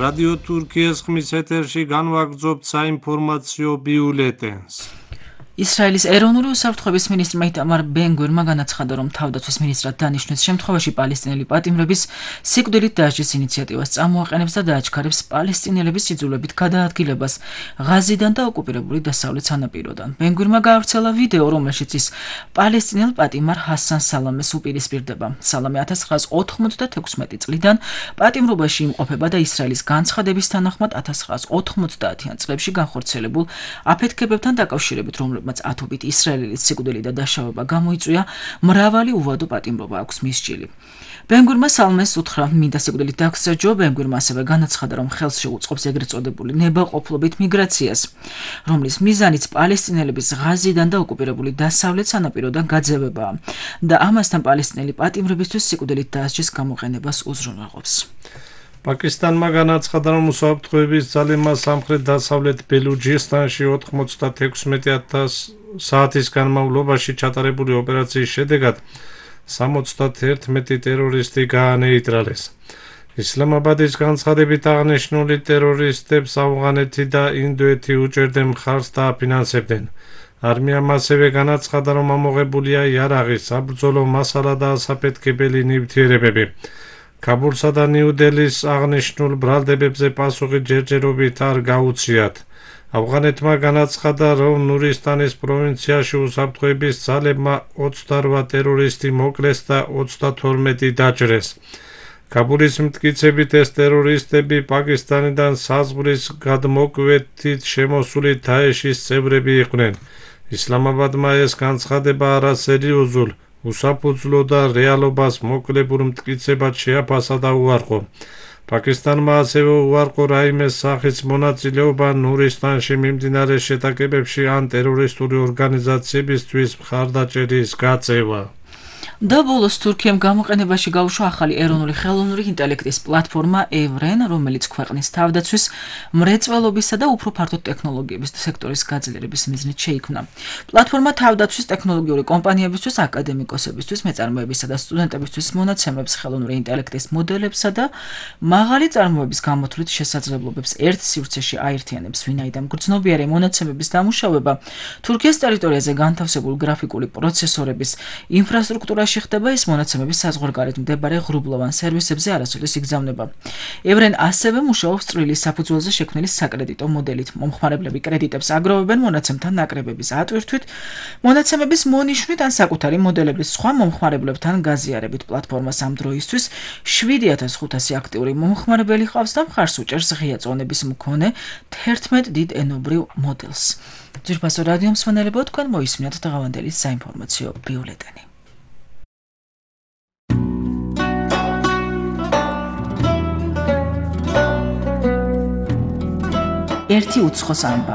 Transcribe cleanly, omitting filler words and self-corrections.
რადიო თურქიის ხმის ეთერში განვაგრძობთ საინფორმაციო ბიულეტენს. ისრაელის ეროვნული უსაფრთხოების მინისტრმა იტამარ ბენ-გვირმა განაცხადა, რომ თავდაცვის მინისტრად დანიშნვის შემთხვევაში პალესტინელი პატიმრების სიკვდილით დასჯის ინიციატივას წამოაყენებს და დააჩქარებს პალესტინელების იძულებით გადაადგილებას ღაზიდან და ოკუპირებული დასავლეთ სანაპიროდან. ბენ-გვირმა გაავრცელა ვიდეო, რომელშიც ის პალესტინელ პატიმარ ჰასან სალამეს უპირისპირდება. სალამე 1996 წლიდან პატიმრობაში იმყოფება და ისრაელის განცხადების თანახმად 1990-იან წლებში განხორციელებულ აფეთქებებთან დაკავშირებით, რომლებმაც ათობით ისრაელის სიკვდილი და დაშავება გამოიწვია, მრავალი უვადო პატიმრობა აქვს მის ჭილი. ბენ-გვირმა სალამეს უთხრა მინდა სიკვდილით დაგსაჯო. ბენ-გვირმა ასევე განაცხადა, რომ ხელს შეუწყობს ეგრეთ წოდებული ნებაყოფლობით მიგრაციას, რომლის მიზანიც პალესტინელების ღაზიდან და ოკუპირებული დასავლეთ სანაპიროდან გაძევებაა და ამასთან პალესტინელი პატიმრებისთვის სიკვდილით დასჯის გამოყენებას უზრუნველყოფს. პაკისტანმა განაცხადა, რომ უსაფრთხოების ძალებმა სამხრეთ-დასავლეთ ბელუჯისტანში 96,000 საათის განმავლობაში ჩატარებული ოპერაციის შედეგად 71 ტერორისტი გაანეიტრალეს. ისლამაბადის განცხადებით აღნიშნული ტერორისტებს ავღანეთი და ინდოეთი უჭერდნენ მხარს და აფინანსებდნენ. არმიამ ასევე განაცხადა, რომ ამოღებულია იარაღი, საბრძოლო მასალა და ასაფეთქებელი ნივთიერებები. ქაბულსა და ნიუ-დელის აღნიშნულ ბრალდებებზე პასუხი ჯერჯერობით არ გაუციათ. ავღანეთმა განაცხადა, რომ ნურისტანის პროვინციაში უსაფრთხოების ძალებმა 28 ტერორისტი მოკლეს და 32 დაჭრეს. ქაბულის მტკიცებით ეს ტერორისტები პაკისტანიდან საზღვრის გადმოკვეთით შემოსული დაეშის წევრები იყვნენ. ისლამაბადმა ეს განცხადება არასერიოზულ, უსაფუძვლო და რეალობას მოკლებულ მტკიცებად შეაფასა და უარყო. პაკისტანმა ასევე უარყო რაიმეს სახის მონაწილეობა ნურისტანში მიმდინარე შეტაკებებში ან ტერორისტული ორგანიზაციებისთვის მხარდაჭერის გაწევა. და ბოლოს თურქიამ გამოყენებაში გაუშვა ახალი ეროვნული ხელოვნური ინტელექტის პლატფორმა ევრენ, რომელიც ქვეყნის თავდაცვის, მრეწველობისა და უფრო ფართო ტექნოლოგიების სექტორის გაძლიერების მიზნით შეიქმნა. პლატფორმა თავდაცვის ტექნოლოგიური კომპანიებისთვის, აკადემიკოსებისთვის, მეწარმეებისა და სტუდენტებისთვის მონაცემებს ხელოვნური ინტელექტის მოდელებსა და მაღალი წარმოების გამოთვლით შესაძლებლობებს ერთ სივრცეში აერთიანებს, ვინაიდან გრძნობიარე მონაცემების დამუშავება თურქიის ტერიტორიაზე განთავსებულ გრაფიკული პროცესორების ინფრასტრუქტურაში ხდება, ის მონაცემების საზღვარგარეთ მდებარე ღრუბლოვან სერვისებზე არასოდეს იგზავნება. ევრენ ასევე მუშაობს წვრილი საფუძველზე შექმნილი საკრედიტო მოდელით. მომხმარებლები კრედიტებს აგროვებენ მონაცემთან ნაკრებების ატვირთვით, მონაცემების მონიშვნით ან საკუთარი მოდელების სხვა მომხმარებლებთან გაზიარებით. პლატფორმას ამ დროისთვის 7500 აქტიური მომხმარებელი ჰყავს და მხარს უჭერს ღია წონების მქონე 11 დიდ ენობრივ მოდელს. ძვირფასო რადიო მსმენელებო, თქვენ მოისმინეთ დღევანდელი საინფორმაციო ბიულეტენი. ერთი უცხოს ამბავი.